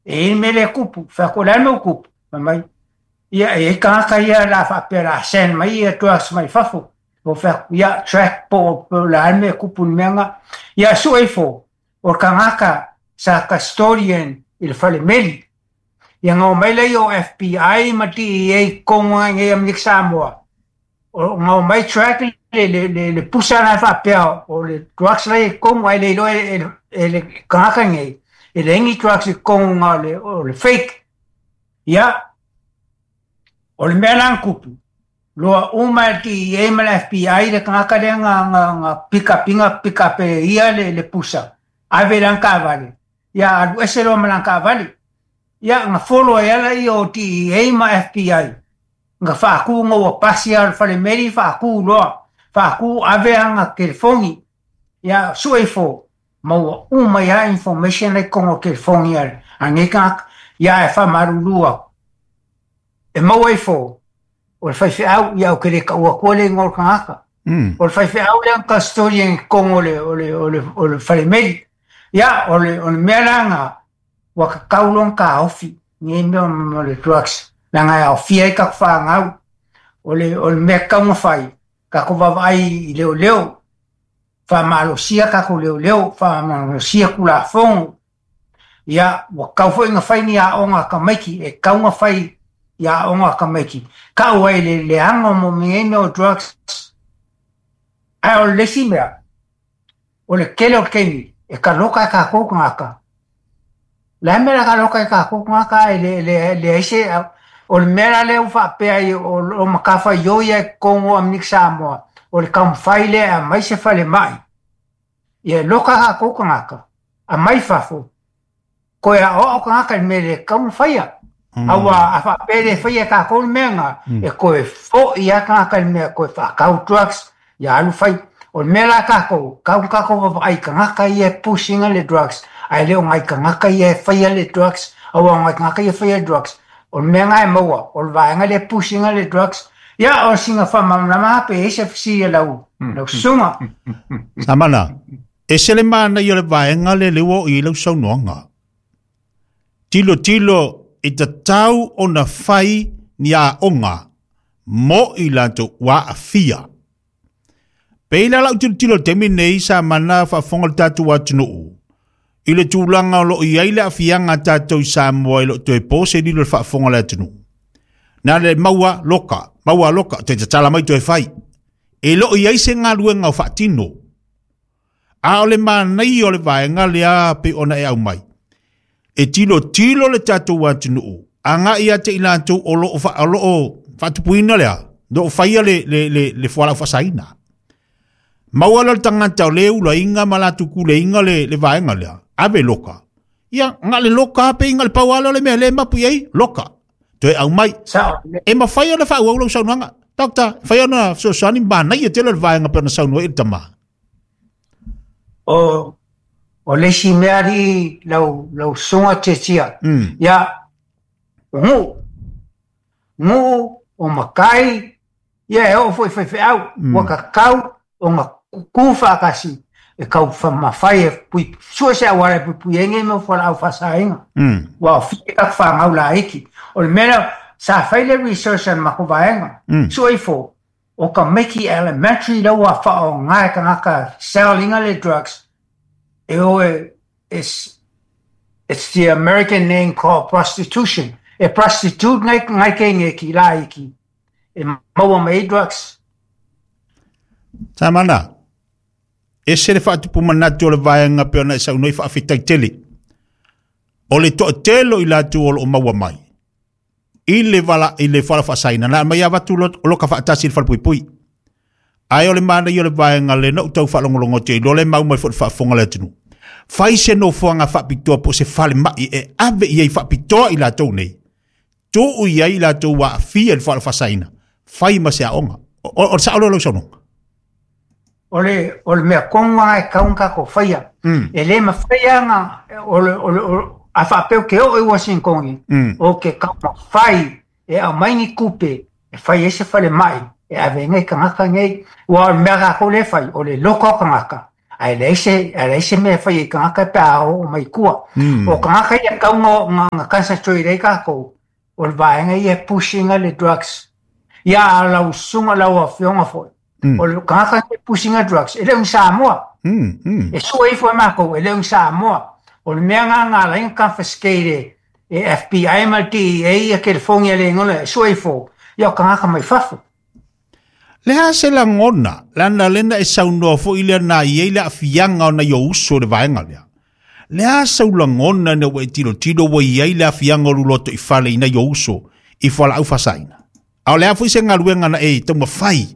E i ai le mea lea e tupu. Fai atu, o le a le mea ua tupu? Fai mai, ia e i ai tagata ia o le a faapea o le a send mai ia drugs mai fafo. Ou fai atu, ia track po o le a le mea e tupu i le mea lena. Ia sue ifo, o le tagata sa custodian i le falemeli. Ia na omai lea o FBI ma DEA i totonu lava i inei i Amerika Samoa, na omai track le pusa la e faapea o le drugs la e i totonu ae le iloa e le tagata nei, e leai ni drugs i totonu na o le fake. Ia, o le mea la na tupu, loa uma e le DEA ma le FBI le tagata lea na pick up ina pick up e ia le pusa, ave i lana taavale, ia alu ese loa ma lana taavale. Ia, na follow ai lava lea o DEA ma FBI, na faatu ina ua pasi lava o le falemeli faatu loa, faatu ave ana telefoni, ia sue ifo, maua uma ai lava information la i totonu o telefoni a nei tagata. Ia ae faamalulu atu, e maua ifo o le faifeau, ia ou te le taua atua le igoa o le tagata. O le faifeau lea na custodian i totonu o le falemeli. Ia, o le mea la na, ua tatau loa ona taofi nei mea o le drugs, leaga e aofia ai tatou fanau. O le mea e tatau ona fai, tatou vaavaai i leoleo, faamalosia tatou leoleo, faamalosia Tulafono. Ia, ua tatau foi ona fai ni aoga a tamaiti, e tatau ona fai i aoga a tamaiti. Tau ai le leaga o nei mea o drugs. Ae o le isi mea, o le tele o le taimi e taloka e tatou tagata. O le a le mea o le a taloka ai e tatou tagata ae leai se... O le mea la lea ua faapea ai o matafaioi ia i totonu o Amerika Samoa, o le taumafai lea e aumai se falemai, ia e loka tatou tagata, aumai fafo, toe aoao tagata i le mea e le tatau ona faia. Aua a faapea e le faia e tatou le mea lena, e toe foi lava tagata i le mea, toe faatau drugs, ia alu fai. O le mea la tatou, tau ona tatou vaavaai i tagata ia e push ina le drugs, ae le o nai tagata ia e faia le drugs, aua o nai tagata ia e faia le drugs, o le mea lena e maua, o le vaega lea e push ina le drugs. Ia, o sina faamalamalama lava pe i ai se fesili a lau susuga. Samana, ese le manaia o le vaega lea lea ua oo i ai lau saunoaga. Tilotilo i tatau ona fai ni aoga mo i latou ua aafia. Pei la lau tilotilo i le taimi nei sa mana faafofoga le tatou atunuu i le tulaga o lo o i ai le aafiaga a tatou i Samoa e le o toe po se lilo i le faafofoga a le atunuu. Na le maua loka, maua loka, toe tatala mai toe fai. E le o i ai se galuega o faatino. A o le manaia o le vaega lea pei ona e aumai, e tilotilo le tatou atunuu agai ia te i latou o lo o faatupuina lea, o lo o faia le fualaau faasaina. Maua lea o le tagata o le ulaina ma latou kuleina le vaega lea, ave loka. Ia, na le loka pe inga le pau lea o le mea le mapu i ai, loka. Toe aumai. E mafai ona faaauau lau saunoaga. Doctor, e mafai ona fesoasoani manaia tele le vaega pei ona saunoa i le tama. O le isi mea alii lau susuga Tietia, ia, o Nuu, Nuu, o matai, ia e oo foi i faifeau, ua tatau ona tutu faatasi e taumafai e sue se auala e puipui ai nei mea o fualaau faasaina. Ua aofia ai tatou fanau laiti. O le mea lea, sa fai le research a le matou vaega, sue ifo, o tamaiti elementary la ua faaaoga e tagata sell ina le drugs, e o e, it's the American name called prostitution. E prostitute ngai teineki laiti e maua mai ai drugs. Samana, ese le faatupu manatu o le vaega pei ona e saunoa i faafetai tele. O le toatele o i latou o lo o maua mai i le vala i le fualaau faasaina na aumai avatu loka faatasi i le falepuipui. Ae o le manaia o le vaega lea na ou tau faalogologo atu ai loa le mau mai foi le faafofoga a le atunuu. Fai se nofoaga faapitoa po o se falemai e ave i ai faapitoa i latou nei. Tuu i ai i latou ua aafia i le fualaau faasaina, fai ma se aoga. O le sao lea o lau saunoaga? O le mea tonu lava e tatau ona tatou faia. E le mafai lava ona, a faapea ou te oo i Uasinitoni, ou te taumafai e aumai ni tupe e fai ai se falemai e ave ai nai tagata nei. Aua o le mea a tatou lea e fai, o le loka o tagata, Ae leai se, ae leai se mea e fai ai i tagata pe a oo mai i tua. O tagata ia e tatau ona concentrate ai tatou, o le vaega ia e push ina le drugs. Ia a lau susuga, lau afioga foi, o le tagata e push ina drugs, e le o ni Samoa. E sue ifo e matou, e le o ni Samoa. O le mea lena na ala ai ona confiscate e FBI ma le DEA ia telefoni a le igoa e sue ifo, ia o tagata mai fafo. Le a se lagona, leaga lena e saunoa foi lea na i ai le aafiaga o nai ou uso i le vaega lea. Le a sau lagona ina ua e tilotilo ua i ai le aafiaga o lou lotoifale i nai ou uso i fualaau faasaina? A o le a foi se galuega na e taumafai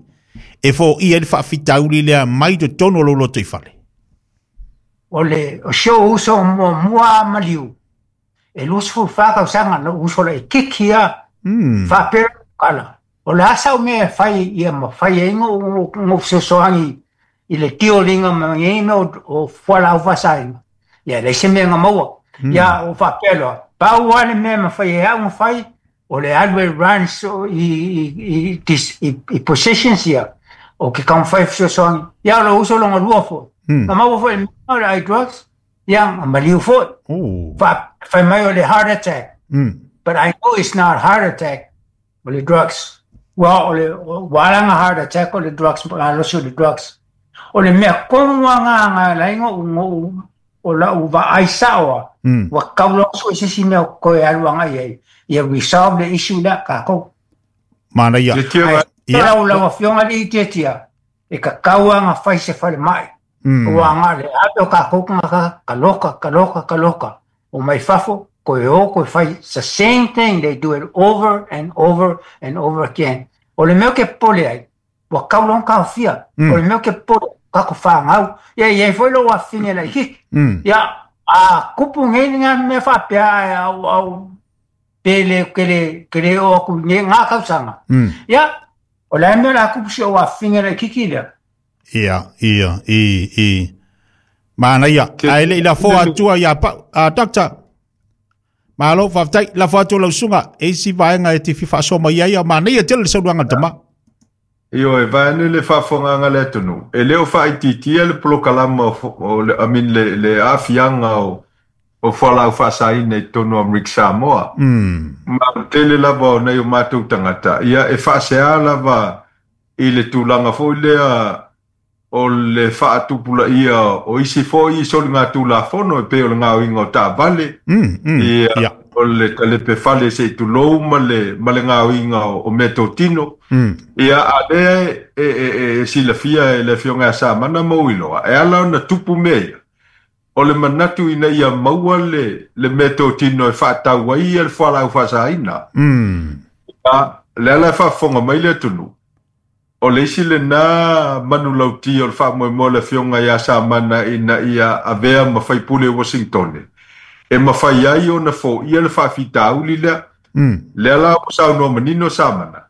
e foia ai le faafitauli lea mai totonu o lou lotoifale? O le o si ou uso muamua a maliu, e 24 tausaga na uso laitiiti lava, faapea kala, o le a sau mea e fai ia mafai ai ona fesoasoani i le tioliga ma nei mea o fualaau faasaina, ia e leai se mea na maua. Ia o faapea loa, pau lava le mea e mafai e au ona fai, o le alu e run i positions ia, o ke taumafai e fesoasoani. Ia o lou uso lona lua foi, na maua foi i le mea o le ai drugs, ia na maliu foi. Fai mai o le heart attack. But I know it's not heart attack, o le drugs. Ua o le ua ala ona heart attack o le drugs, malosi o le drugs. O le mea tonu lava na na ala ai ona o lau vaai sao lava, ua tatau loa ona sue se isi mea toe alu agai ai, ia resolve le issue lea tatou. Manaia. Ae lau Afioga i le Itiatia, e tatau lava ona fai se falemai. Ua na o le ave o tatou tagata, taloka, taloka, taloka, o mai fafo, toe o toe fai. It's the same thing, they do it over and over and over again. O le mea ou te popole ai, ua tatau loa ona taofia. O le mea ou te popole, tatou fanau. Ia e i ai foi lou afafine laitiiti. Ia, a tupu nei le mea faapea, ae au, au, pe le, ke le, ke le oo atu i nei ngā tausaga. Ia, o le a le mea o le a tupu si ou afafine laitiiti lea? Ia, ia, i, i. Manaia. Ae le i lafoa atua ia Pau. A, Doctor, malo, faafetai. Lafo atu lau susuga, e isi vaega e te fia faasoa mai ai, a manaia tele le saunoaga a le tama. Ioe, vaeane le faafofogaaga a le atunuu, e le o faaitiitia le polokalama o le, I mean, le aafiaga o fualaau faasaina i totonu o Amerika Samoa. Ma o le tele lava o nai o matou tagata, ia, e faasea lava i le tulaga foi lea o le faatupulaia o isi foi soligatulafono e pei o le gaoiga o taavale, ia, o le talepe fale se i tulou ma le, ma le gaoiga o meatotino. Ia, a lea e silafia e le Afioga ia Samana ma Uiloa, e ala ona tupu mea ia, o le manatu ina ia maua le meatotino e faatau ai ia le fualaau faasaina. Ia, le ala e faafofoga mai le atunuu, o le isi lena manulauti o le faamoemoe o le Afioga ia Samana ina ia avea ma faipule i Washingtone, e mafai ai ona foia le faafitauli lea. Lea la ua saunoa manino Samana,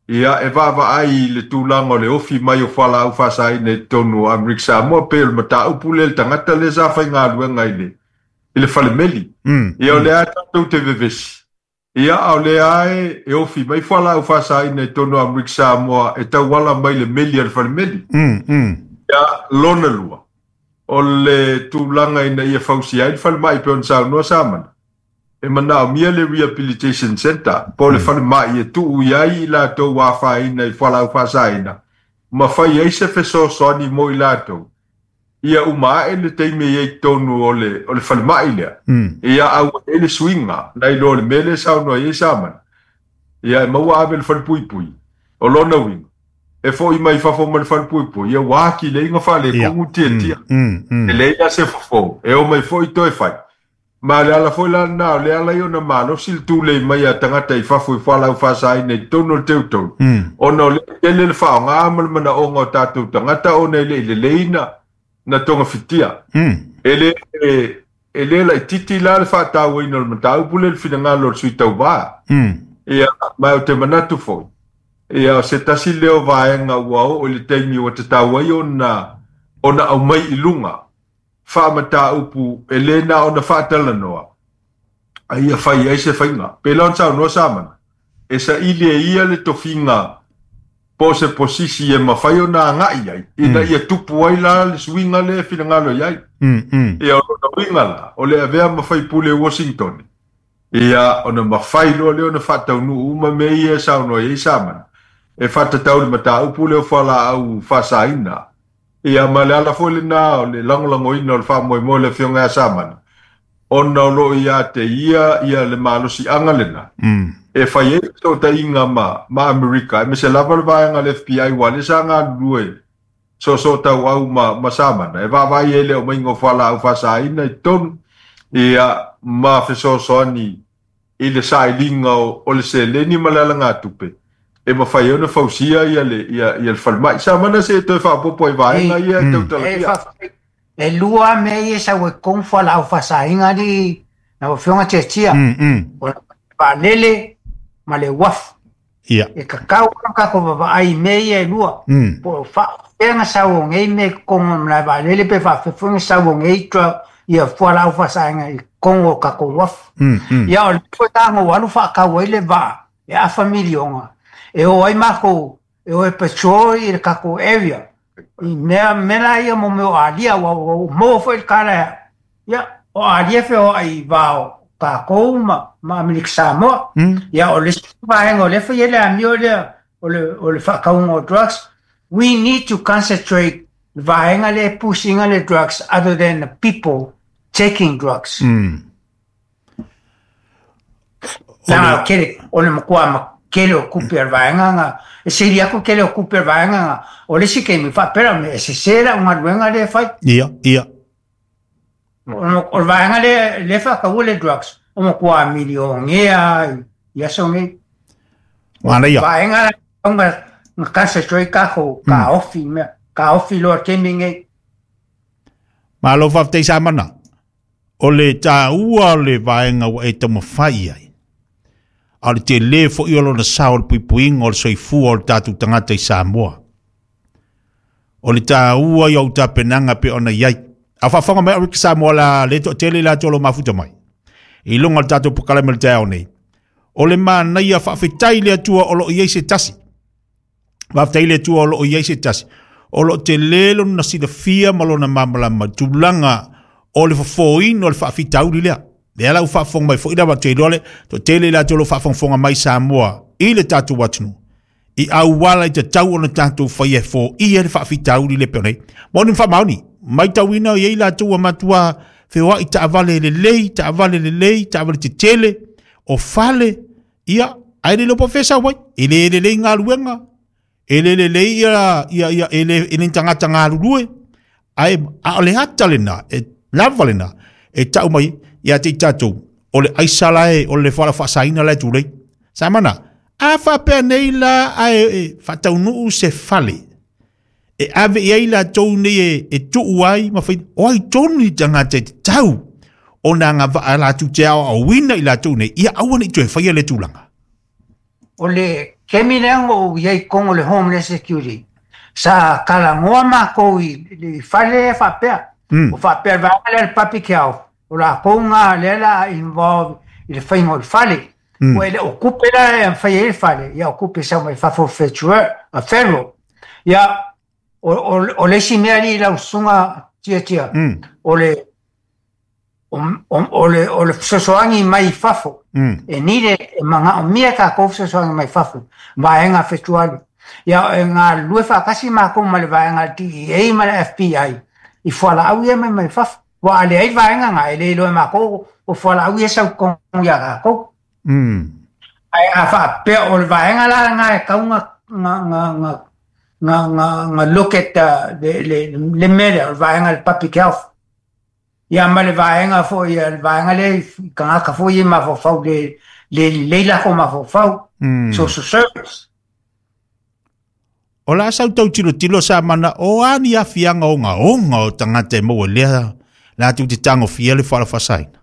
ia, e vaavaai i le tulaga o le ofi mai o fualaau faasaina i totonu o Amerika Samoa, pei o le mataupu lea i le tagata lea sa faigaluega i le falemeli. Ia, o lea tatou te vevesi, ia, a o lea e ofi mai fualaau faasaina i totonu o Amerika Samoa e tauala mai le meli a le falemeli. Ia, lona lua, o le tulaga ina ia fausia ai le falemai pei ona saunoa Samana, e manaomia le Rehabilitation Center, po o le falemai e tuu i ai i latou ua afaina i fualaau faasaina, ma fai ai se fesoasoani mo i latou, ia uma ae le taimi e i ai i totonu o le falemai lea. Ia, a ua i ai le suiga, nai lo le mea lea e saunoa i ai Samana, ia e maua ave le falepuipui, o lona uiga, e foi mai fafo ma le falepuipui, ia ua atili ai ona faaletonu tiatia. E leai la se fofo, e o mai foi toe fai. Ma le ala foi la lena, o le ala ia ona malosi le tulei mai a tagata i fafo i fualaau faasaina i totonu o le teutonu, ona o le tele le faaaoga ma le manaoga o tatou tagata ona e le i lelei na togafitia. E le laitiiti la le faatauaina o le mataupu lea i le finagalo o le sui tauva. Ia, ma o te manatu foi, ia, o se tasi lea o vaega ua oo i le taimi ua tatau ai ona aumai i luga faamataupu e le na ona faatalanoa, a ia fai ai se faiga. Pe la ona saunoa Samana, e saili e ia le tofiga Po o se posisi e mafai ona agai ai, ina ia tupu ai la le suiga lea e finagalo i ai. Ia, o lona uiga la, o le avea ma faipule i Washington, ia, ona mafai loa lea ona faataunuu uma mea ia e saunoa i ai Samana, e faatatau i le mataupu lea o fualaau faasaina. Ia, ma le ala foi lena o le lagolagoina o le faamoemoe o le Afioga ia Samana, ona o lo o ia te ia ia le malosiaga lena e fai ai fesootaiga ma ma Amerika, aemaise lava le vaega a le FBI aua lea sa galulue soosootauau ma ma Samana e vaavaai ai le aumaiga o fualaau faasaina i totonu, ia, ma fesoasoani i le sailiga o le seleni ma le alagatupe e mafai ai ona fausia ia le ia ia le falemai. Samana se toe faaopoopo ai vaega ia e tautalagia. E lua mea ia e sau ai totonu fualaau faasaina alii lau Afioga Tiatia, o le vaalele ma le uafu. E tatau ona tatou vaavaai i mea ia e lua, po o faapefea ona sau o nei mea i totonu o le malae vaalele pe faapefea foi ona sau o nei ia fualaau faasaina i totonu o tatou uafu. Ia o lea foi sa alu faatau ai le vaa e afa miliona e o ai matou e o e patrol i le tatou area i mea mea la ia mo mea o alia ua maua foi le tala ia o alia feoai i va o tatou ma Amerika Samoa. Ia o le isi vaega o lea fai ai le amio lea o le faatauga o drugs. We need to concentrate le vaega lea e push-ina le drugs other than the people taking drugs. Leaga kele, o le matua ma kele o kupe a le vaega nga, e sili atu kele o kupe a le vaega nga, o le isi taimi faapea e sese lau galuega lea e fai. Ia, ia. O le vaega lea lea e faataua le drugs, o matua milionea i aso nei. Manaia. Vaega la nga concentrate tatou taofi mea, taofi loa i le taimi lenei. Malo faafetai Samana. O le taua o le vaega ua e taumafai i ai, a o le tele foi o lona sao o le puipuiga o le soifua o le tatou tagata i Samoa. O le taua i au tapenaga pe ona i ai. A faafofoga mai Rick Samoa la le toatele i latou o lo o mafuta mai i luga o le tatou polokalame o le taeao nei. O le manaia faafetai i le Atua o lo o i ai se tasi. Faafetai i le Atua o lo o i ai se tasi o lo o tele lona silafia ma lona malamalama i tulaga o le fofoina o le faafitauli lea. Lea la ua faafofoga mai foi lava, ou te iloa le toatele i latou o lo o faafogafoga mai Samoa i le tatou atunuu i auala i tatau ona tatou faia e foia le faafitauli lea pei ona i ai. Moni ma faamaoni, matauina i ai latou ua matua feoai taavale lelei, taavale lelei, taavale tetele, o fale, ia, ae le iloa po o fea e sau ai. E le lelei galuega, e le lelei ia, ia, ia e le, e le ni tagata galulue, ae a o le ata lena, e lava lena, e tau mai ia te i tatou, o le aisa la e, o le fualaau faasaina la e tulei. Samana, a faapea nei la ae e faataunuu se fale, e ave i ai latou nei e, e tuu ai ma fai, o ai tonu ni tagata e tatau ona agavaa latou te aoaoina i latou nei, ia aua ne i toe faia lea tulaga. O le taimi lea na ou i ai i totonu o le Homeland Security, sa talanoa matou i le fale lea faapea, o faapea le vaega lea o le Public Health, o latou na lea o le a involve i le faiga o le fale. Ua e le o tupe la e fai ai le fale, ia o tupe e sau mai fafo o federal. Ia, o le isi mea alii lau susuga Tiatia, o le o le fesoasoani mai fafo, e needed, e manaomia tatou fesoasoani mai fafo, vaega fetuali. Ia, e galulue faatasi matou ma le vaega a le DEA ma le FBI i fualaau ia mai mai fafo. Ua a leai vaega na, e le iloa e matou o fualaau ia e sau i totonu ia tatou. Ae a faapea o le vaega la lena e tau na look at le mea lea, o le vaega o le public health. Ia ma le vaega foi, le vaega lea i tagata foi ia mafaufau le lelei latou mafaufau, social service. O la sau tau tilotilo sa mana o a ni afiaga ogaoga o tagata e maua i lea latou te tagofia le fualaau faasaina.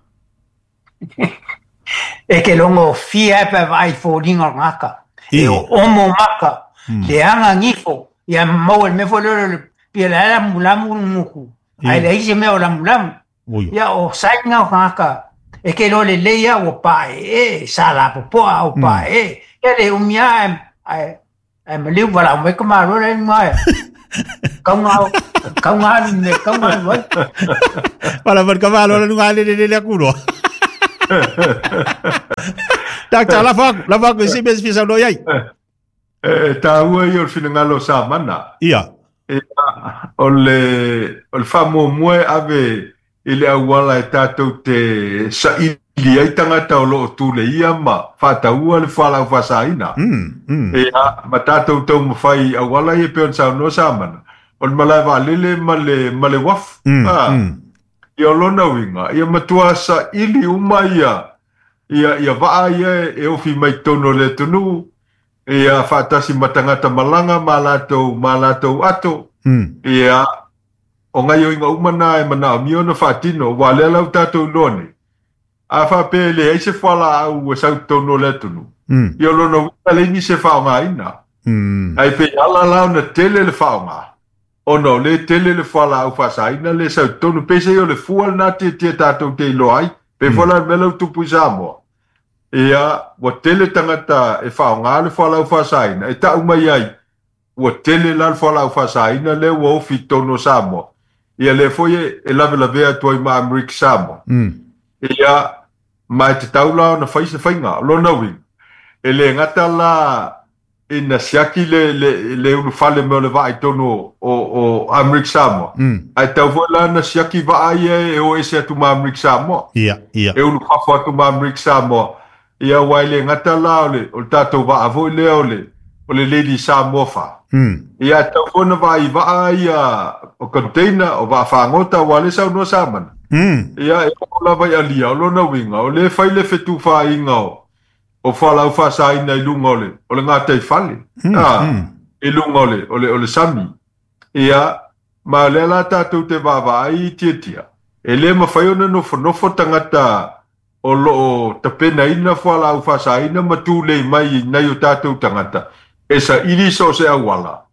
E ke logo fia e pe vaai foliga o le tagata. E omo maka, leaga gifo, ia maua i le mea foi lea o le pei o la e lamulamu le gutu, ae leai se mea o lamulamu. Ia o sign na o tagata e ke iloa lelei lava ua paeee, sa lapopoa a ua paeee. Ia le umi lava ae Ae maliu valaau mai ka Malo le luga e. Kauga kauga alu i mea kauga alu ai. Valaau mai ka Malo le luga le le le aku loa. Doctor, lafo atu, lafo atu i se mea e fia saunoa i ai. E taua ia o le finagalo o Samana. Ia. Ia, o le, o le faamuamua e ave i le auala e tatou te saili ai tagata o lo o tuleia ma faataua le fualaau faasaina. Ia, ma tatou taumafai i auala ia e pei ona saunoa Samana, o le malae vaalele ma le, ma le uafu. Ia, o lona uiga, ia matua saili uma ia, ia, ia vaa ia e ofi mai totonu o le atunuu, ia faatasi ma tagata malaga ma latou, ma latou ato. Ia, o gaoioiga uma na e manaomia ona faatino, aua o lea la ua tatou iloa nei, a faapea e leai se fualaau e sau i totonu o le atunuu, ia o lona uiga e leai nisi e faaaogaina. Ae pei ala la ona tele le faaaoga, ona o lea e tele le fualaau faasaina lea e sau i totonu. Peiseai o le fua lena tietie tatou te iloa ai. Pei foi la le mea lea ua tupu i Samoa, ia, ua tele tagata e faaaoga le fualaau faasaina, e tau mai ai, ua tele la le fualaau faasaina lea ua ofi i totonu o Samoa, ia lea foi e lavelavea atu ai ma Amerika Samoa. Ia, ma e tatau la ona fai se faiga. O lona uiga, e le gata la ina siaki le, le, le ulufale mai o le vaa i totonu o, o, o Amerika Samoa, ae tatau foi la ona siaki vaa ia e o ese atu ma Amerika Samoa. Ia, ia. E ulufafo atu ma Amerika Samoa. Ia, aua e le gata la o le, o le tatou vaa foi lea o le, o le Lady Samoa 4. Ia, e tatau foi ona vaai i vaa ia o container, o vaa fagota, aua o lea e saunoa Samana. Ia, e oo lava i alia, o lona uiga, o lea e fai le fetufaaiga o, o fualaau faasaina i luga o le, o le gataifale, i luga o le, o le, o le sami. Ia, ma o lea la tatou te vaavaai i Tiatia, e le mafai ona nofonofo tagata o lo o tapenaina fualaau faasaina ma tulei mai i nai o tatou tagata e saili so o se auala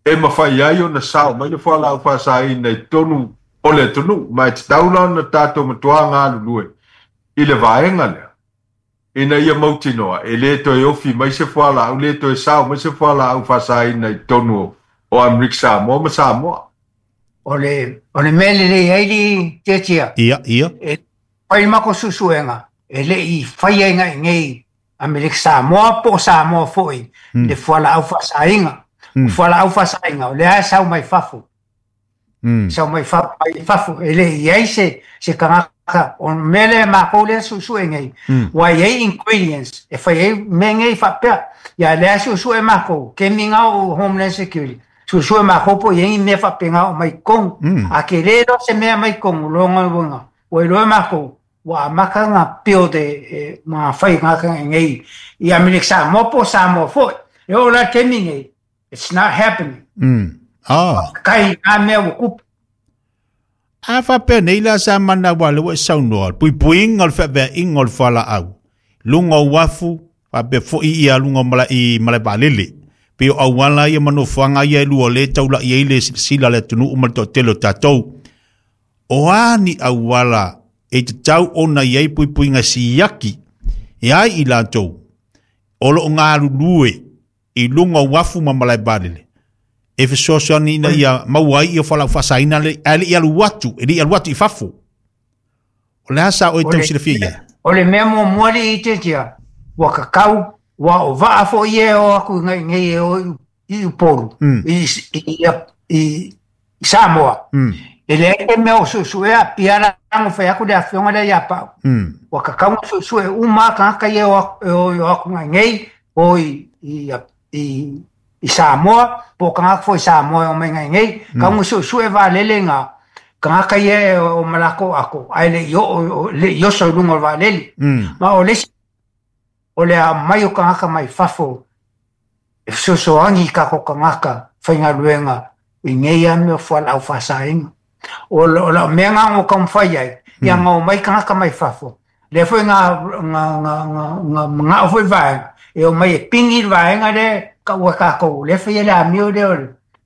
e mafai ai ona sao mai le fualaau faasaina i totonu o le atunuu. Ma e tatau la ona tatou matua galulue i le vaega lea ina ia mautinoa e le toe ofi mai se fualaau, le toe sao mai se fualaau faasaina i totonu o Amerika Samoa ma Samoa. O le, o le mea lelei ai le Tiatia. Ia, ia. E fai le matou suesuega, e le i faia i nei Amerika Samoa po o Samoa foi le fualaau faasaina. O fualaau faasaina, o lea e sau mai fafo. Sau mai fafo, mai fafo. E le i ai se, se tagata, o le mea lea matou lea suesue nei, ua i ai ingredients e fai ai mea nei faapea. Ia lea suesue matou, kemiga o Homeland Security, suesue matou po o i ai ni mea faapena o mai totonu. A tele loa se mea mai totonu, lona uiga, ua iloa e matou, ua amata ona build e ma fai tagata nei i Amerika Samoa po o Samoa foi. E oo la i le taimi nei, it's not happening. Faafetai i na mea ua tupu. A faapea nei la sa mana aua o lea ua e saunoa, le puipuiga o le feaveaiga o le fualaau, luga o uafu, faapea foi ia luga o malae, i malae vaalele. Pei o auala ia ma nofoaga ia e lua o lea e taulai ai le silasila a le atunuu ma le toatele o tatou. O a ni auala e tatau ona i ai puipuiga siaki e ai i latou o lo o galulue i luga o uafu ma malae vaalele e fesoasoani ina ia maua ai ia fualaau faasaina ae le i alu atu, e le i alu atu i fafo. O le a sa oe tau silafia i ai? O le mea muamua alii Tiatia, ua tatau, ua o vaa foi ia e o atu i nei e o i Upolu, i Samoa. E leai se mea o suesuea Apia la na fai atu le afioga lea ia Pau. Ua tatau ona suesue uma lava tagata ia e o atu nei o i Samoa, po o tagata foi Samoa e omai nei, tatau ona suesue vaalele na tagata ia e o ma latou ato, ae le i oo, le i oso i luga o le vaalele. Ma o le isi, o le aumai o tagata mai fafo e fesoasoani i tatou tagata faigaluega i nei lava mea o fualaau faasaina. O lau mea lena na ou taumafai ai, ia na omai tagata mai fafo, lea foi na manao foi vaega, e omai e pigi le vaega lea e taua e tatou, o lea e faia le amio lea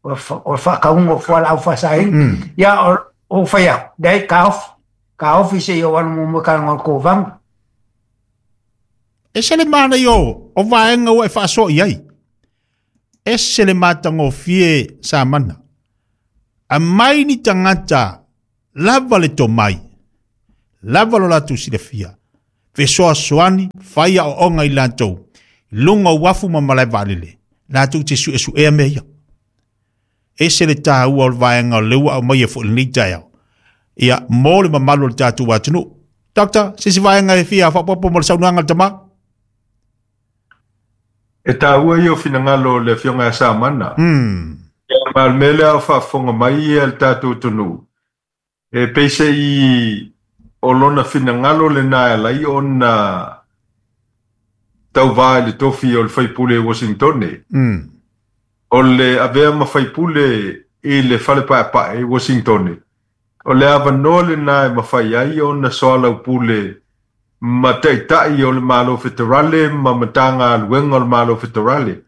o le faatauga o fualaau faasaina. Ia ou fai atu, leai, taofi, taofi se i ou alu muamua e talanoa i le Kovana. E se le manaia o vaega ua e faasoa i ai. Ese le matagofie Samana. Aumai ni tagata lava le tomai, lava lo latou silafia, fesoasoani, fai aoaoga i latou, i luga o uafu ma malae vaalele, latou te suesuea mea ia. Ese le taua o le vaega o lea ua aumaia foi i lenei taeao, ia, mo le mamalu o le tatou atunuu. Doctor, se isi vaega e fia faaopoopo mo le saunoaga a le tama? E taua ia o finagalo o le Afioga ia Samana. Ia, ma o le mea lea o faafofoga mai ia le tatou atunuu, e peiseai o lona finagalo lena e ala ai ona tauvā i le tofi o le faipule i Washingtone. O le avea ma faipule i le fale paepae i Washingtone, o le avanoa lena e mafai ai ona soalaupule ma taitai o le Malo Feterale ma Matagaluega o le Malo Feterale,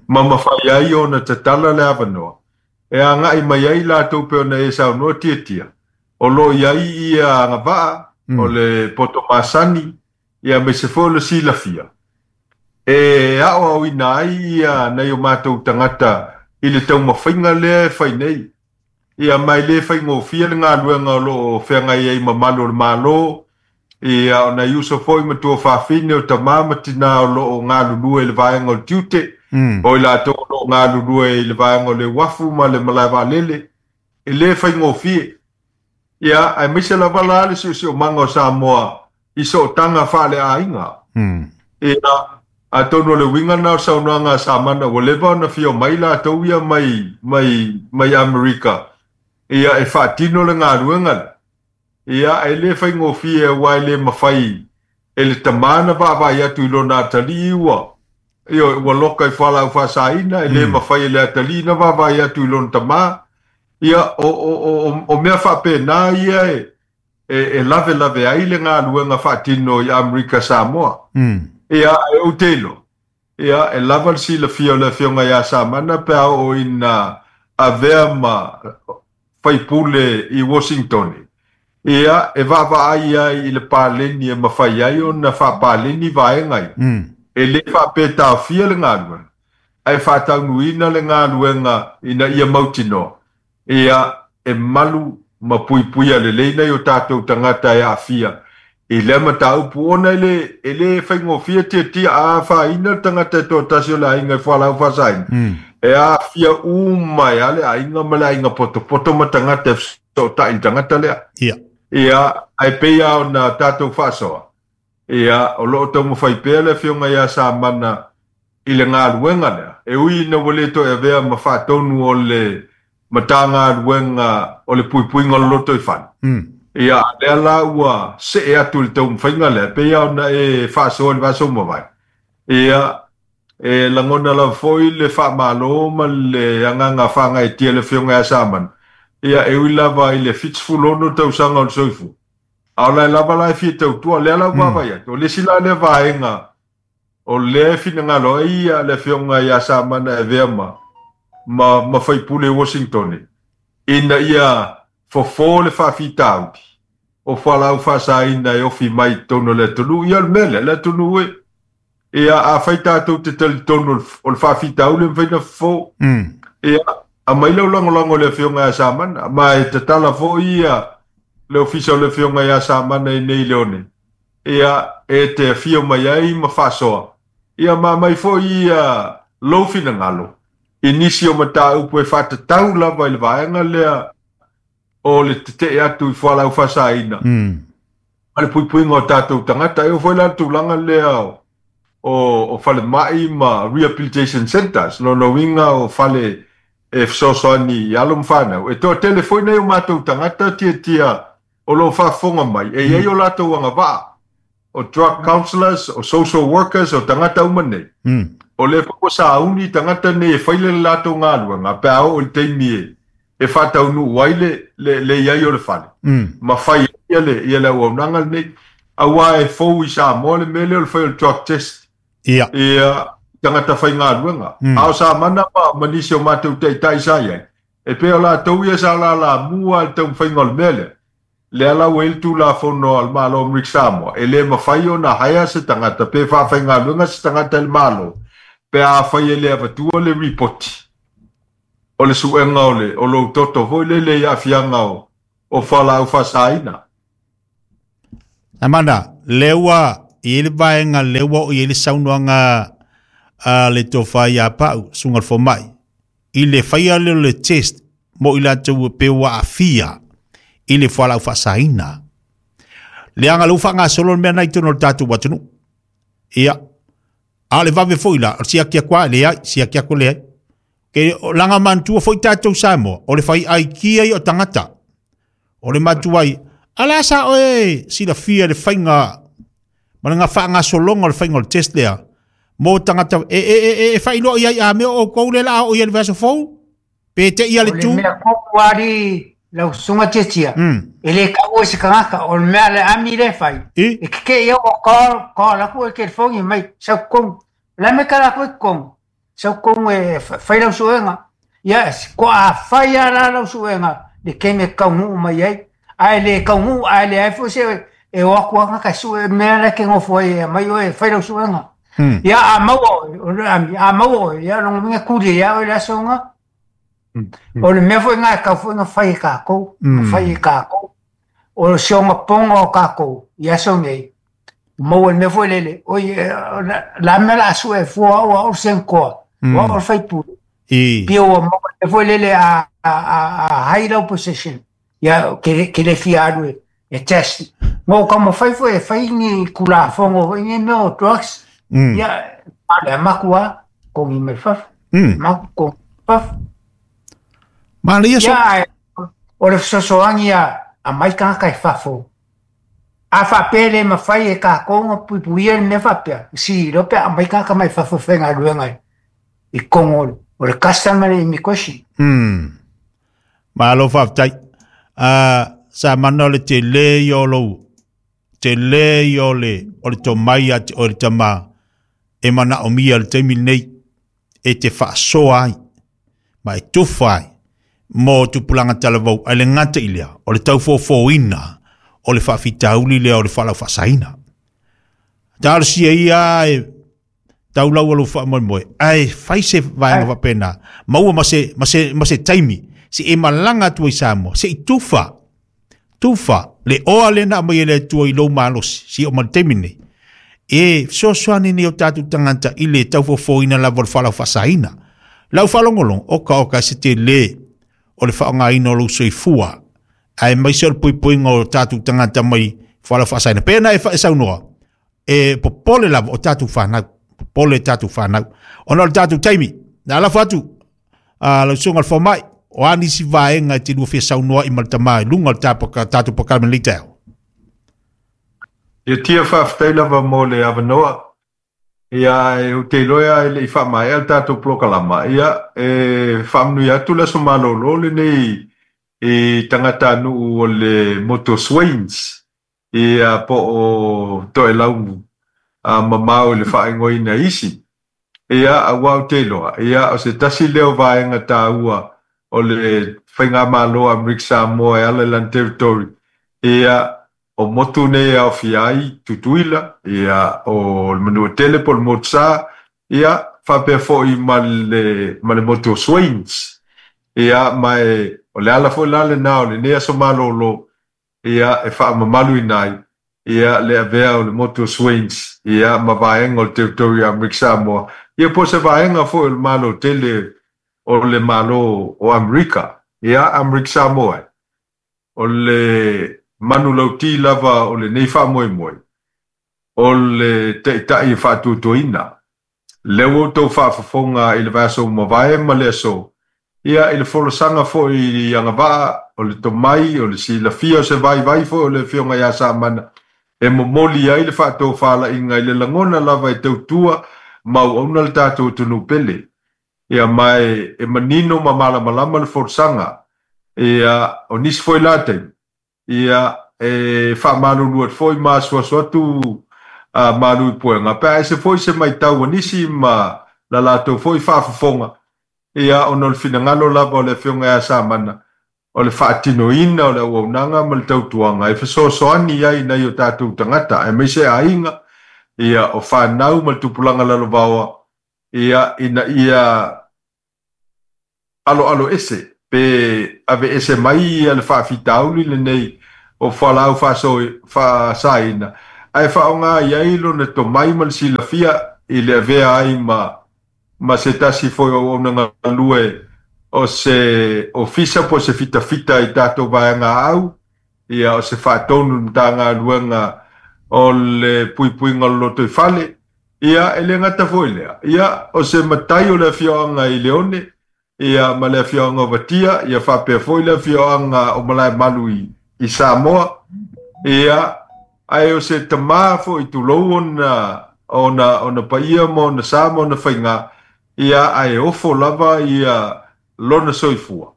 ma mafai ai ona tatala le avanoa e agai mai ai latou pei ona e saunoa Tiatia, o lo o i ai ia agavaa o le poto masani ia aemaise foi o le silafia e aoaoina ai ia nai o matou tagata i le taumafaiga lea e fai nei. Ia, ma e le faigofie le galuega o lo o feagai ai mamalu o le Malo, ia, o nai uso foi ma tuafafine, o tama ma tina o lo o galulue i le vaega o le tiute, o i latou o lo o galulue i le vaega o le uafu ma le malae vaalele, e le faigofie. Ia, aemaise lava la le siosiomaga o Samoa i sootaga faaleaiga. Ia, atonu o le uiga lena o le saunoaga a Samana, ua leva ona fia omai latou ia mai, mai, mai Amerika, ia, e faatino le galuega lea. Ia, e le faigofie aua e le mafai e le tama na vaavaai atu i lona atalii ua, ioe, ua loka i fualaau faasaina, e le mafai e le atalii na vaavaai atu i lona tama. Ia, o, o, o, o mea faapena ia e, e lavelave ai le galuega faatino i Amerika Samoa. Ia, ae ou te iloa, ia, e lava le silafia o le Afioga ia Samana pe a oo ina avea ma faipule i Washingtone, ia, e vaavaai ai i le paleni e mafai ai ona faapaleni vaega ia. E le faapea e taofia le galuega, ae faataunuuina le galuega ina ia mautinoa Ia, e malu ma puipuia lelei nai o tatou tagata e aafia i lea mataupu ona e le, e le faigofie tiatia a afaina le tagata e toatasi o le aiga i fualaau faasaina, e aafia uma ai lava le aiga ma le aiga potopoto ma tagata e fesootai i le tagata lea. Ia. Ia, ae pei lava ona tatou faasoa, Ia, o lo o taumafai pea le Afioga ia Samana i le galuega lea, e ui ina ua le toe avea ma faatonu o le Matagaluega o le Puipuiga o le Lotoifale. Ia, a lea la ua see atu i le taumafaiga lea, e pei lava ona e faasoa i le vaiaso ua mavae. Ia, e lagona lava foi le faamalo ma le agaga faagaeetia i le Afioga ia Samana, ia, e ui lava i le 76 tausaga o le soifua, A o la e lava la e fia tautua, lea la ua vaavaai atu, o le isi la lea vaega o lea e finagalo ai ia le Afioga ia Samana e avea ma, ma, ma faipule i Washington, ina ia fofo le faafitauli o fualaau faasaina e ofi mai i totonu o le atunuu. Ia o le mea lea, le atunuu e, ia afai tatou te talitonu o le faafitauli e mafai ona fofo, ia aumai lau lagolago i le Afioga ia Samana, ma e tatala foi ia le ofisa o le Afioga ia Samana i nei Leone, ia e te afio mai ai ma faasoa, ia ma aumai foi ia lou finagalo i nisi o mataupu e faatatau lava i le vaega lea o le tetee atu i fualaau faasaina ma le puipuiga o tatou tagata. E oo foi la le tulaga lea o falemai ma rehabilitation centres, lona uiga o fale e fesoasoani i alo ma fanau. E toatele foi nai o matou tagata tiatia o lo o faafofoga mai, e i ai o latou agavaa, o drug counsellors, o social workers, o tagata uma nei. O lea foi ua sauni tagata nei e fai le latou galuega pe a oo i le taimi e faataunuu ai le i ai o le fale ma fai ai ia le auaunaga lenei. Aua e fou i Samoa le mea lea o le fai o le drug test. Ia. Ia, tagata faigaluega. A o Samana ma nisi o matou taitai sa i ai, e pei o latou ia sa lalamua i le taumafaiga o le mea lea. Lea la ua i ai le Tulafono a le Malo o Amerika Samoa, e le mafai ona hire se tagata pe faafaigaluega se tagata e le Malo. Pe afai e le avatua le ripoti o le suega o le o lou toto foi lele i aafiaga o fualaau faasaina. Amanda, le ua i le vaega le ua o i le saunoaga a le tofa ia pau suga le fomai i le faia lea o le test mo i latou pe ua aafia i le fualaau faasaina. Leaga lea ua faagasolo le mea lena i totonu o le tatou atunuu. Ia, a o le vave foi la, o le siaki atu lava e leai, siaki atu e leai. Ke laga manatua foi tatou Samoa, o le fai aikia ia o tagata. O le matuai, a la sa oe silafia le faiga ma le faagasologa o le faiga o le test lea mo tagata e e e e faailoa i ai a mea o outou lea la a oo i ai le vaiaso fou pe te i a le tu. O le mea kopu ali lau susuga Tiatia, e le taua i se tagata, o le mea a le ami lea e fai, e tetee au o call, call atu e telefoni mai, sau totonu. O le a mea e tala atu ai totonu? Sau totonu e fai lau suega. Ia, ko a fai lava la lau suega, le taimi e taunuu mai ai. Ae le taunuu, ae leai foi se e o atu lava tagata e sue mea la e te nofo ai e aumai oe e fai lau suega. Ia, a maua oe, o le ami, a maua oe, ia lona uiga e tuli ai lava oe i le aso lena. O le mea foi lena e tatau foi ona fai e tatou, na fai e tatou. O si ogapoga o tatou i aso nei, maua i le mea foi lele, oi, la a mea o le a sue fua o au, o au le senator, o au le sui usufono. Pei ua maua i le mea foi lele a high lau position, ia ke le fia alu e test. Ma ua taumafai foi e fai ni Tulafono foi nei mea o drugs, ia, a o le maku lava, togi mai fafo, maku togi mai fafo. Manaia so. Ia, o le fesoasoani ia aumai tagata i fafo. A faapea e le mafai e tatou ona puipuia le mea faapea, si iloa pe a aumai tagata mai fafo e faigaluega i totonu o le custom ma le immigration. Malo faafetai. Sa mana o le tele ia o lou tele ia o le o le tomai ia te oe le tama e manaomia i le taimi lenei e te faasoa ai ma e tufa ai mo tupulaga talavou ae le gata i lea o le taufofoina o le faafitauli lea o le fualaau faasaina. Talosia ia e tau lau o lou faamoemoe ae fai se vaega faapena maua ma se, ma se, ma se taimi se e malaga atu ai Samoa se i tufa tufa le oa lea na aumai e le Atua i lou malosi si o ma le taimi nei e fesoasoani nei o tatou tagata i le taufofoina lava o le fualaau faasaina. Lau faalogologo, oka oka se tele o le faaaogaina o lou soifua aemaise o le poipoiga o tatou tagata mai fualaau faasaina. Pe na e saunoa, e popole lava o tatou fanau, popole tatou fanau. Ona o le tatou taimi, na alafo atu a lau susuga i le fomai, o a nisi vaega e te lua fia saunoa i ma le tama i luga o le tatou polokalame i lenei taeao. Ia tia faafetai lava mo le avanoa. Ia, ae ou te iloa e le i faamaea le tatou polokalama, ia, e faamanuia atu le aso malolo lenei i tagatanuu o le motu o Swains, ia, po o Toelau mamao i le faaigoaina e isi. Ia, aua ou te iloa, ia, o se tasi lea o vaega taua o le Faigamalo a Amerika Samoa e ala i lana territory, ia, o motu nei e aofia ai Tutuila, ia, o le Manuatele po o le Motusa, ia, faapea foi ma le, ma le motu o Swains. Ia, ma e, o le ala foi la lena o lenei aso malolo, ia, e faamamaluina ai, ia, le avea o le motu o Swains, ia, ma vaega o le Territory a Amerika Samoa, ia, po o se vaega foi o le Malo tele o le Malo o Amerika, ia, Amerika Samoa e. O le manulauti lava o lenei faamoemoe, o le Taitai e faatuatuaina. Lea ua outou faafofoga i le vaiaso ua mavae ma le aso, ia, i le folasaga foi i agavaa o le tomai, o le silafia o se vaivai foi o le Afioga ia Samana e momoli ai le faatofalaiga i le lagona lava e tautua ma auauna le tatou atunuu pele. Ia, ma e manino ma malamalama le folasaga, ia, o nisi foi la taimi, ia, e faamalulu atu foi ma asuasu atu a malu i puega, pe a ese foi se maitau a nisi ma la latou foi faafofoga, ia, ona o le finagalo lava o le Afioga ia Samana, o le faatinoina o le auaunaga ma le tautuaga e fesoasoani ai i nai o tatou tagata, aemaise aiga, ia, o fanau ma le tupulaga lalovaoa. Ia ina ia aloalo ese pe ave ese mai ia le faafitauli lenei o fualaau faasaina ae faaaoga i ai lona tomai ma le silafia i le avea ai ma se tasi foi o auaunaga galue o se ofisa po o se fitafita i tatou vaega au, ia o se faatonu i le Matagaluega o le Puipuiga o le Lotoifale. Ia, e le gata foi i lea, ia, o se matai o le afioaga i Leone, ia, ma le afioaga o Vatia, ia faapea foi le afioaga o Malaemalu i Samoa, ia, ae o se tama foi tulou ona, ona, ona paia ma ona sa ma ona faiga, ia, ae ofo lava ia lona soifua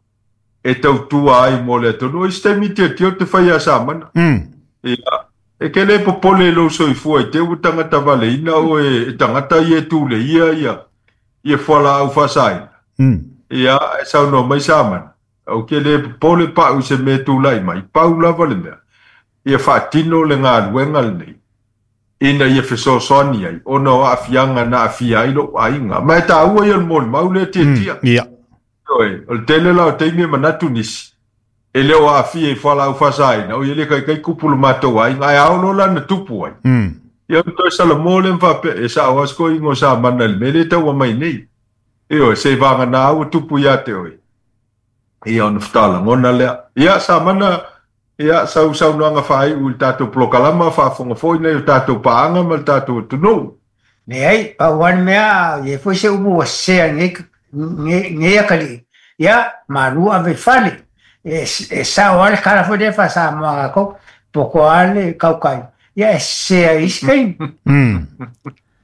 e tautua ai mo le atunuu. I se taimi tilotilo te fai ia Samana. Ia, e ke le popole i lou soifua i te ua tagata valeina oe e tagata ia e tuleia ia, ia fualaau faasaina. Ia, e saunoa mai Samana, ou te le popole pau i se mea e tulai mai, pau lava le mea, ia faatino le galuega lenei, ina ia fesoasoani ai, ona o aafiaga na aafia ai lou aiga. Ma e taua ia o le molimau lea Tiatia. Ia. Ioe, o le tele la o taimi e manatu nisi, e le o aafia i fualaau faasaina, oi e le kaikai kupu lo matou aiga, ae a oo loa la na tupu ai. Ia ona toe salamo lea ma faapea, e sao lava si toeaina o Samana i le mea lea e tau aumai nei. Ioe, seivagana ua tupu ia te oe. Ia ona faatoa lagona lea. Ia Samana, ia sau saunoaga faaiu i le tatou polokalama, faafofoga foi nai o tatou paaga ma le tatou atunuu. Leai, pau lava le mea, e i ai foi se upu ua sese ai lenei atalii, ia, malu ave i fale. E sao lava le tala foi lea faa-Samoa a tatou, poto lava le tautai, ia e sese ai i isi taimi.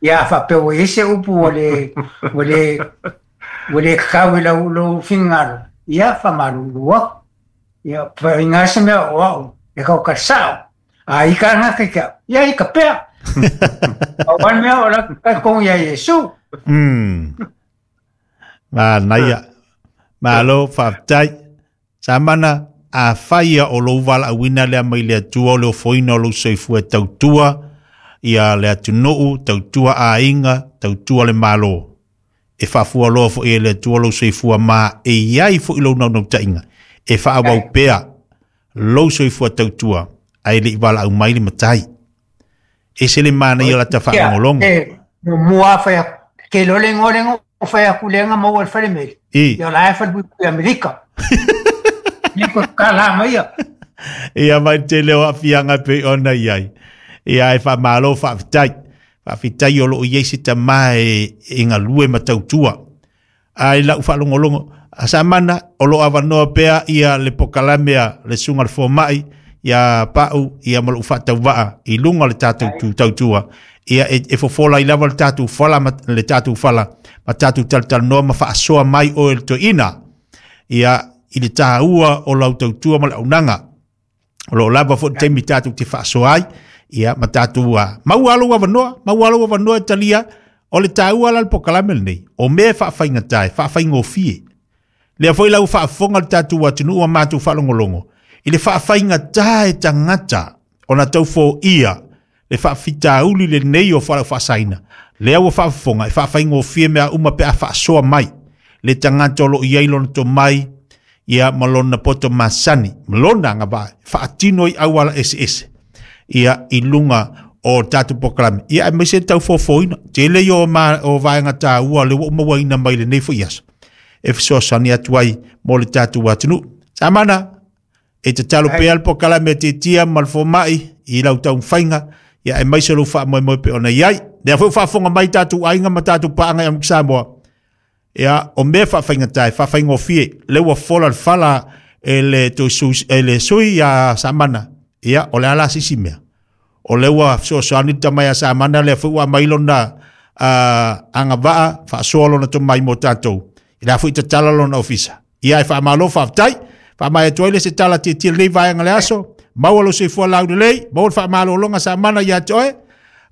Ia a faapea ua i ai se upu ua le, ua le, ua le tatau i lou finagalo, ia faamalulu atu. Ia, paiga se mea o au e tautai sao. A i ka ngaka ki au, ia i ka pea. Pau lava le mea o la talitonu iā Iesu. Manaia. Malo, faafetai. Samana, afai ia o lou valaauina lea mai le Atua o le ofoina o lou soifua e tautua ia le atunuu, tautua aiga, tautua le Malo. E faafualoa foi e le Atua lou soifua ma e i ai foi lou naunautaiga e faaauau pea lou soifua tautua ae le i valaau mai le matai. Ese le manaia o lata faalogologo. E, muamua fai atu, ke iloa le igoa lea na ou fai atu lea na maua i le falemeli. Ia o la e falepuipui Amerika. Ia ko kala mai ia. Ia mai tele o aafiaga e pei ona i ai. Ia e faamalo faafetai. Faafetai o lo o i ai se tama e galue ma tautua. A i lau faalogologo, a Samana, o lo o avanoa pea ia le pokalame a le Susuga i le Fomai, ia Pau, ia ma lou faatauvaa i luga o le tatou tu tautua. Ia e fofola ai lava le tatou fala ma le tatou fala ma tatou talatalanoa ma faasoa mai oe le toeaina. Ia i le taua o lau tautua ma le auaunaga. O lo o lava foi le taimi tatou te faasoa ai, ia ma tatou maua lou avanoa, maua lou avanoa e talia. O le taua la le pokalame lenei, o mea e faafaigata, e faafaigofie. Lea foi la ua faafofoga le tatou atunuu ma matou faalogologo i le faafaigata e tagata ona tau foia le faafitauli lenei o fualaau faasaina. Lea ua faafofoga e faafaigofie mea uma pe a faasoa mai le tagata o lo o i ai lona tomai ia ma lona poto masani ma lona agavaa e faatino ai auala eseese ia i luga o tatou polokalame ia aemaise le tau fofoina. Tele ia o vaega taua lea ua ou mauaina mai lenei foi aso e fesoasoani atu ai mo le tatou atunuu. Samana, e tatalo pea le polokalame a Tiatia ma le Fomai i lau taumafaiga ia aemaise lou faamoemoe pei ona i ai. Lea foi ua faafofoga mai tatou aiga ma tatou paaga i Amerika Samoa, ia o mea faafaigata e faafaigofie, lea ua fola le fala e le toe sui, e le sui ia Samana, ia o le a la se isi mea? O lea ua fesoasoani le tama ia Samana, lea foi ua aumai lona agavaa faasoa lona tomai mo tatou, i la foi tatala lona ofisa. Ia e faamalo faafetai. Faamaea atu ai le se tala tietie lenei vaega le aso. Maua lou soifua laulelei, maua le faamalologa Samana ia te oe,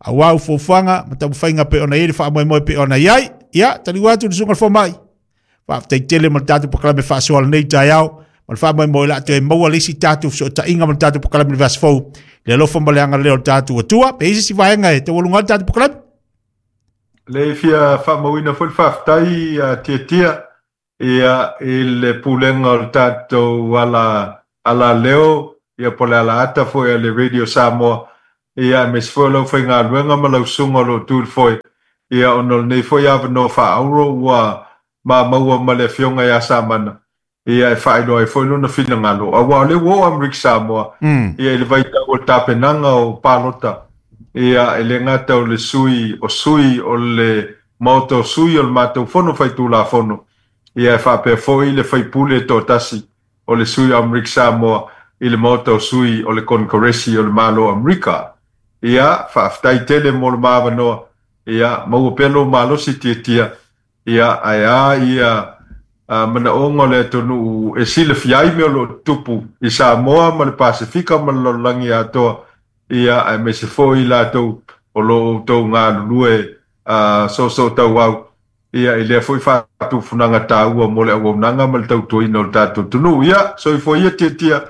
aua u fuafuaga ma taumafaiga pei ona i ai le faamoemoe pei ona i ai. Ia, taliu atu le susuga i le fomai. Faafetai tele mo le tatou polokalame faasoa lenei taeao ma le faamoemoe o le a toe maua le isi tatou fesootaiga ma le tatou polokalame i le vaiaso fou. Le alofa ma le agalelei o le tatou Atua. Pe i ai se isi vaega e taualuga ai le tatou polokalame? Le fia faamauina foi le faafetai a Tiatia ia i le pulega o le tatou ala ala leo ia po o le alaata foi a le Radio Samoa ia aemaise foi o lau faigaluega ma lau susuga o lo o tu i le foe ia ona o lenei foi avanoa faaauro ua maua ma le afioga ia Samana ia e faailoa ai foi lona finagalo aua o lea ua oo Amerika Samoa ia i le vaitau o le tapenaga o palota ia e le gata o le sui o sui o le Maota o sui o le matou Fono Faitulafono ia e faapea foi le faipule toatasi o le sui o Amerika Samoa i le Maota o sui o le Konekaresi o le Malo o Amerika. Ia, faafetai tele mo le ma avanoa. Ia, maua pea lou malosi Tiatia. Ia, ae a ia manaoga o le atunuu e silafia ai mea o lo o tutupu i Samoa ma le Pasefika ma le lalolagi atoa, ia, aemaise foi i latou o lo o outou galulue soosootauau ia i lea foi faatufunaga taua mo le auaunaga ma le tautuaina o le tatou atunuu. Ia, soifua ia Tiatia,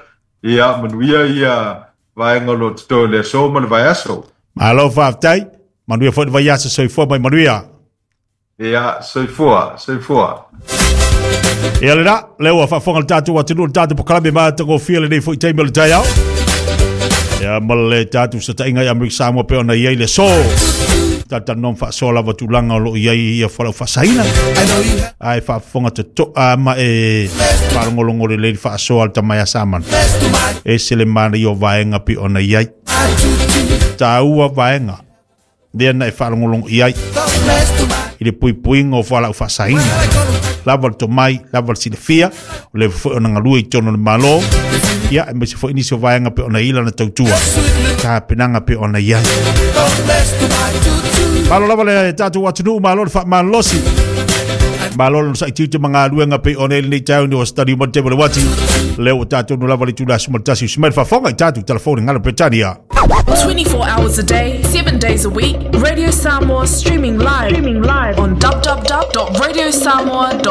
ia, manuia ia vaega o lo o totoe o le aso ma le vaiaso. Malo faafetai, manuia foi le vaiaso, soifua mai manuia. Ia, soifua, soifua. Ia le la, lea ua faafofoga le tatou atunuu le tatou polokalame matagofie lenei foi taimi o le taeao. Ia ma le tatou setaiga i Amerika Samoa pe ona i ai le aso. Talanoa ma faasoa lava tulaga o lo o i ai ia fualaau faasaina. Ae faafofoga totoa ma e faalogologo lelei le faasoa a le tama ia Samana. E se le manaia o vaega pe ona i ai. Taua vaega lea na e faalogologo i ai i le puipuiga o fualaau faasaina. Lava le tomai, lava le silafia, o le foi ona galue i totonu o le Malo, ia aemaise foi nisi o vaega pe ona i lana tautua, tapenaga pe ona i ai. Malo lava le tatou atunuu, malo le faamalosi. Malo le sai tiute ma galuega pe ona i lenei taeao ni o stadi uma te le wati. Lea ua tatou no lava le itula 11 usi mai le faafofoga i tatou telefoni ngalo Peretania. 24 hours a day, 7 days a week, Radio Samoa streaming live on www.radiosamoa.com.